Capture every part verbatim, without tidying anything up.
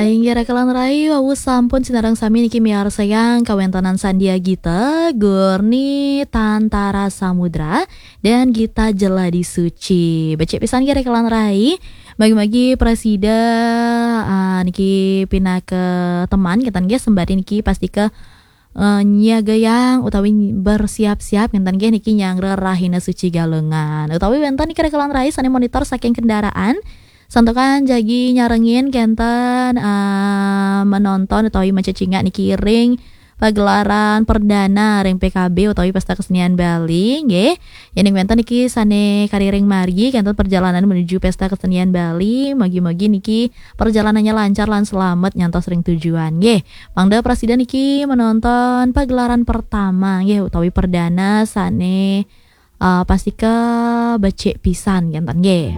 Inggih rekan rai, wau sampun sinareng sami niki miarsayang kawéntenan Sandia Gita, Gurni Tantara Samudra, dan Gita Jeladi Suci. Becik pisan nggih rekan rai. Magi-magi prasida, ah, niki pinaka teman, kénten nggih, sembari niki pastika eh, nyiagayang utawi bersiap-siap ngenten nggih niki nyanggra Rahina Suci Galungan. Utawi wénten niki rekan rai sané monitor saking kendaraan. Santukan jagi nyarengin kénten eh, menonton utawi macecingak niki ring pagelaran perdana ring P K B utawi Pesta Kesenian Bali nggih. Yéning wénten niki sané kariring margi kénten perjalanan menuju Pesta Kesenian Bali, mugi-mugi niki perjalanannya lancar lan selamat nyantos ring tujuan nggih. Mangda prasida niki menonton pagelaran pertama nggih utawi perdana sané uh, pastika becik pisan ngenten nggih.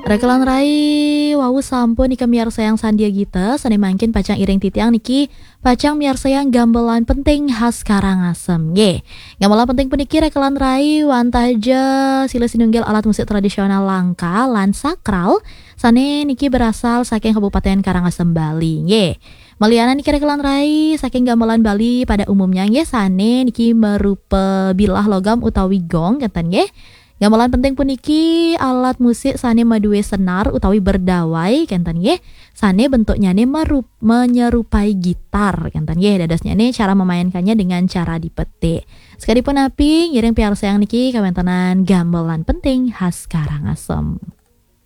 Rekan rai, wau sampun nika miarsayang Sandia Gita, sané mangkin pacang iring titiang niki pacang miarsayang gamelan penting khas Karangasem nggih. Gamelan penting puniki rekan rai wantah ja silih sinunggil alat musik tradisional langka lan sakral sané niki berasal saking Kabupaten Karangasem Bali nggih. Malianan niki rekan rai saking gamelan Bali pada umumnya nggih sané niki merupa bilah logam utawi gong ngenten nggih. Gamelan penting puniki alat musik sané madué senar utawi berdawai ngenten nggih. Sané bentuknyané merup, menyerupai gitar ngenten nggih. Dadosnyané cara memainkannya dengan cara dipetik. Sekalipun api ngiring piarsayang niki kawéntenan gamelan penting khas Karangasem.